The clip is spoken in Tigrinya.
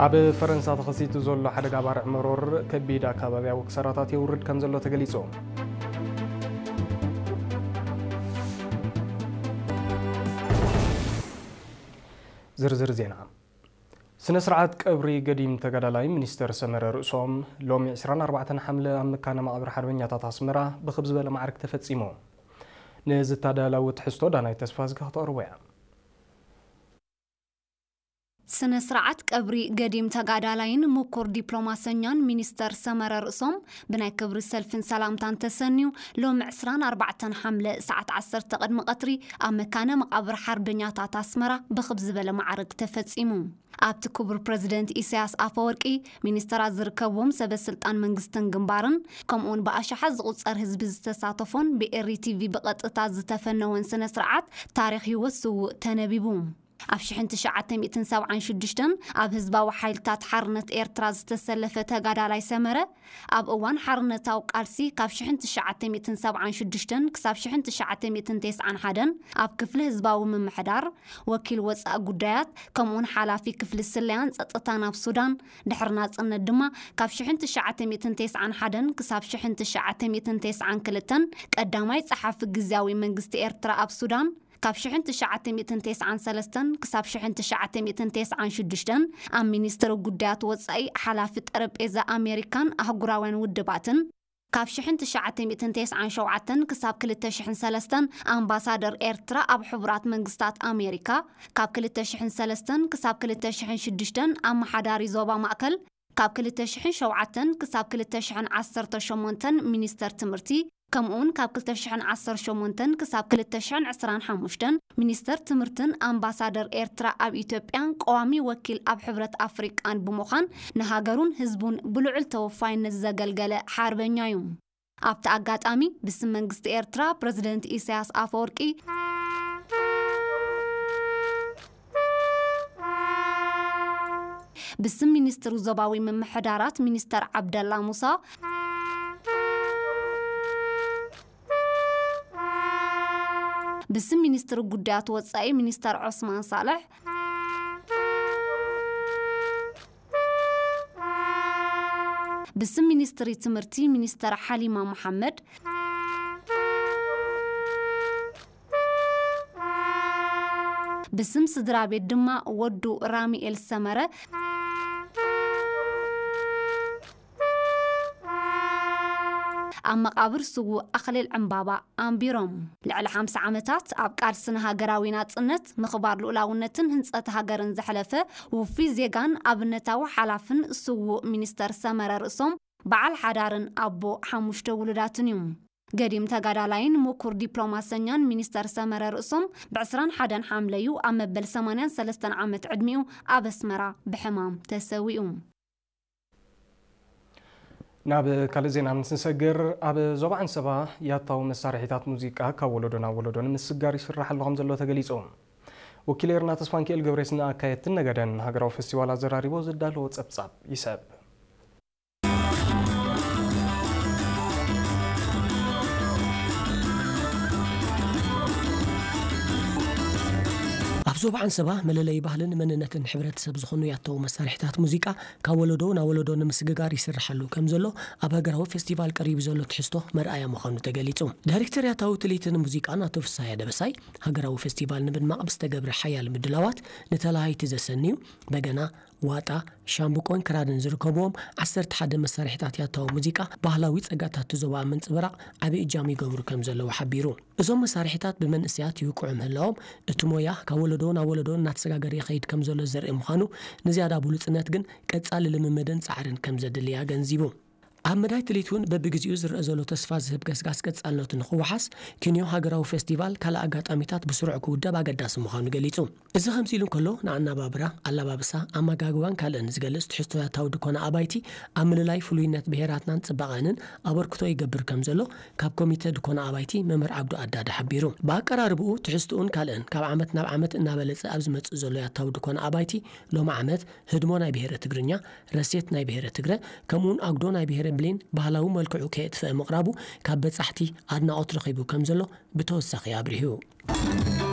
ኣብ ፈረንሳ ተኸሲቱ ዘሎ ሓደጋ ባርዕ መሮር ከቢድ ኣካባቢያዊ ክሳራታት የውርድ ከም ዘሎ ተገሊጹ። ዝርዝር ዜና። ስነ ስርዓት ቀብሪ ገዲም ተጋዳላይ ሚኒስተር ሰመረ ርእሶም ሎሚ ዕስራን ኣርባዕተን ሓምለ ኣብ መካነ መቓብር ሓርበኛታት ኣስመራ ብኽብ ዝበለ ማዕርግ ተፈጺሙ። ንዝተዳለወ ትሕዝቶ ዳናይት ተስፋዝጊ ከተቕርቦ እያ። ስነ ስርዓት ቀብሪ ገዲም ተጋዳላይን ምኩር ዲፕሎማሰኛን ሚኒስተር ሰመረ ርእሶም ብናይ ክብሪ ሰልፍን ሰላምታን ተሰንዩ ሎሚ ዕስራን ኣርባዕተን ሓምለ ሰዓት ዓሰርተ ቅድሚ ቀትሪ ኣብ መካነ መቓብር ሓርበኛታት ኣስመራ ብኽብ ዝበለ ማዕርግ ተፈጺሙ። ኣብቲ ክቡር ፕረዚደንት ኢሳያስ ኣፈወርቂ፣ ሚኒስተራት ዝርከብዎም ሰበ ስልጣን መንግስትን ግንባርን፣ ከምኡውን ብኣሽሓት ዝቑጸር ህዝቢ ዝተሳተፎን ብኤሪ ቲቪ ብቐጥታ ዝተፈነወን ስነ ስርዓት ታሪኽ ህይወት ስዉእ ተነቢቡ። ኣብ ሽሕን ትሽዓተ ሚእትን ሰብዓን ሽዱሽተን ኣብ ህዝባዊ ሓይልታት ሓርነት ኤርትራ ዝተሰለፈ ተጋዳላይ ሰመረ፣ ኣብ እዋን ሓርነታዊ ቃልሲ ካብ ሽሕን ትሽዓተ ሚእትን ሰብዓን ሽዱሽተን ክሳብ ሽሕን ትሽዓተ ሚእትን ተስዓን ሓደን ኣብ ክፍሊ ህዝባዊ ምምሕዳር፣ ወኪል ወጻኢ ጉዳያት፣ ከምኡውን ሓላፊ ክፍሊ ስለያን ጸጥታን ኣብ ሱዳን፣ ድሕሪ ናጽነት ድማ ካብ ሽሕን ትሽዓተ ሚእትን ተስዓን ሓደን ክሳብ ሽሕን ትሽዓተ ሚእትን ተስዓን ክልተን ቀዳማይ ጸሓፊ ግዝያዊ መንግስቲ ኤርትራ ኣብ ሱዳን፣ ካብ ሽሕን ትሽዓተ ሚእትን ተስዓን ሰለስተን ክሳብ ሽሕን ትሽዓተ ሚእትን ተስዓን ሽዱሽተን ኣብ ሚኒስትሪ ጉዳያት ወጻኢ ሓላፊ ጠረጴዛ ኣሜሪካን ኣህጉራውያን ውድባትን፣ ካብ ሽሕን ትሽዓተ ሚእትን ተስዓን ሸውዓተን ክሳብ ክልተ ሽሕን ሰለስተን ኣምባሳደር ኤርትራ ኣብ ሕቡራት መንግስታት ኣሜሪካ፣ ካብ ክልተ ሽሕን ሰለስተን ክሳብ ክልተ ሽሕን ሽዱሽተን ኣመሓዳሪ ዞባ ማእከል፣ ካብ ክልተ ሽሕን ሸውዓተን ክሳብ ክልተ ሽሕን ዓሰርተ ሸሞንተን ሚኒስተር ትምህርቲ፣ ከምኡውን ካብ ክልተ ሽሕን ዓሰርተ ሸሞንተን ክሳብ ክልተ ሽሕን ዕስራን ሓሙሽተን ሚኒስተር ትምህርትን ኣምባሳደር ኤርትራ ኣብ ኢትዮጵያን ቀዋሚ ወኪል ኣብ ሕብረት ኣፍሪቃን ብምዃን ንሃገሩን ህዝቡን ብልዑል ተወፋይነት ዘገልገለ ሓርበኛ እዩ። ኣብቲ ኣጋጣሚ ብስም መንግስቲ ኤርትራ ፕረዚደንት ኢሳያስ ኣፈወርቂ፣ ብስም ሚኒስትሪ ዞባዊ ምምሕዳራት ሚኒስተር ዓብደላ ሙሳ፣ ብስም ሚኒስትሪ ጉዳያት ወጻኢ ሚኒስተር ዑስማን ሳልሕ፣ ብስም ሚኒስትሪ ትምህርቲ ሚኒስተር ሓሊማ መሓመድ፣ ብስም ስድራ ቤት ድማ ወዱ ራሚኤል ሰመረ፣ ኣብ መቓብር ስዉእ ኣኽሊል ዕምባባ ኣንቢሮም። ልዕሊ ሓምሳ ዓመታት ኣብ ቃልሲ ንሃገራዊ ናጽነት፣ ምኽባር ልኡላውነትን ህንጸት ሃገርን ዘሕለፈ ውፉይ ዜጋን ኣብነታዊ ሓላፍን ስዉእ ሚኒስተር ሰመረ ርእሶም በዓል ሓዳርን ኣቦ ሓሙሽተ ውሉዳትን እዩ። ገዲም ተጋዳላይን ምኩር ዲፕሎማሰኛን ሚኒስተር ሰመረ ርእሶም ብዕስራን ሓደን ሓምለዩ ኣብ መበል ሰማንያን ሰለስተን ዓመት ዕድሚኡ ኣብ ኣስመራ ብሕማም ተሰዊኡ። ናብ ካልእ ዜና ምስ ንሰግር፣ ኣብ ዞባ ዓንሰባ ያታዊ መሳርሒታት ሙዚቃ ካብ ወለዶ ናብ ወለዶ ንምስጋር ይስራሕ ኣሎ ከም ዘሎ ተገሊጹ። ወኪል ኤርና ተስፋንኪኤል ገብሬስ ንኣካየድትን ነገደን ሃገራዊ ፈስቲቫል ኣዘራሪቦ ዘዳለዎ ጸብጻብ ይሰብ። ኣብ ዞባ ዓንሰባ መለለዪ ባህልን መንነትን ሕብረተሰብ ዝኾኑ ያታዊ መሳርሒታት ሙዚቃ ካብ ወለዶ ናብ ወለዶ ንምስግጋር ይስርሓሉ ከም ዘሎ ኣብ ሃገራዊ ፌስቲቫል ቀሪቡ ዘሎ ትሕዝቶ መርኣያ ምዃኑ ተገሊጹ። ዳይሬክተር ያታዊ ትልሂትን ሙዚቃን ኣቶ ፍስሃየ ደበሳይ፣ ሃገራዊ ፌስቲቫል ንምድማቕ ብዝተገብረ ሓያል ምድላዋት ንተላሃይቲ ዘሰንዩ በገና፣ ዋጣ፣ ሻምብቆን ክራርን ዝርከብዎም ዓሰርተ ሓደ መሳርሒታት ያታዊ ሙዚቃ ባህላዊ ጸጋታት እቲ ዞባ ኣብ ምንጽብራቕ ዓቢ እጃም ይገብሩ ከም ዘለዉ ሓቢሩ። እዞም መሳርሒታት ብመንእሰያት ይውቅዑ ምህላዎም፣ እቲ ሞያ ካብ ወለዶ ናብ ወለዶ እናተሰጋገረ ይኸይድ ከም ዘሎ ዘርኢ ምዃኑ፣ ንዝያዳ ብሉጽነት ግን ቀጻሊ ልምምድን ጻዕርን ከም ዘድሊ ኣገንዚቡ። ኣብ መዳይ ትልሂት እውን በብግዜኡ ዝረአ ዘሎ ተስፋ ዝህብ ገስጋስ ቀጻልነቱ ንኽወሓስ፣ ኪንዮ ሃገራዊ ፌስቲቫል ካልእ ኣጋጣሚታት ብስሩዕ ክውደብ ኣገዳሲ ምዃኑ ገሊጹ። እዚ ከምዚ ኢሉ እንከሎ፣ ንኣነባብራ፣ ኣለባብሳ፣ ኣመጋግባን ካልእን ዝገልጽ ትሕዝቶ ያታዊ ድኮና ኣባይቲ ኣብ ምልላይ ፍሉይነት ብሄራትናን ጽባቐንን ኣበርክቶ ይገብር ከም ዘሎ ካብ ኮሚተ ድኮና ኣባይቲ መምህር ዓብዱ ኣዳዳ ሓቢሩ። ብኣቀራርብኡ፣ ትሕዝትኡን ካልእን ካብ ዓመት ናብ ዓመት እናበለጸ ኣብ ዝመጽእ ዘሎ ያታዊ ድኮና ኣባይቲ፣ ሎሚ ዓመት ህድሞ ናይ ብሄረ ትግርኛ፣ ረሴት ናይ ብሄረ ትግረ፣ ከምኡውን ኣጉዶ ናይ ብሄረ ብሌን ባህላዊ መልክዑ ከየጥፈአ ምቕራቡ ካብ በጻሕቲ ኣድናቖት ረኺቡ ከም ዘሎ ብተወሳኺ ኣብሪሁ።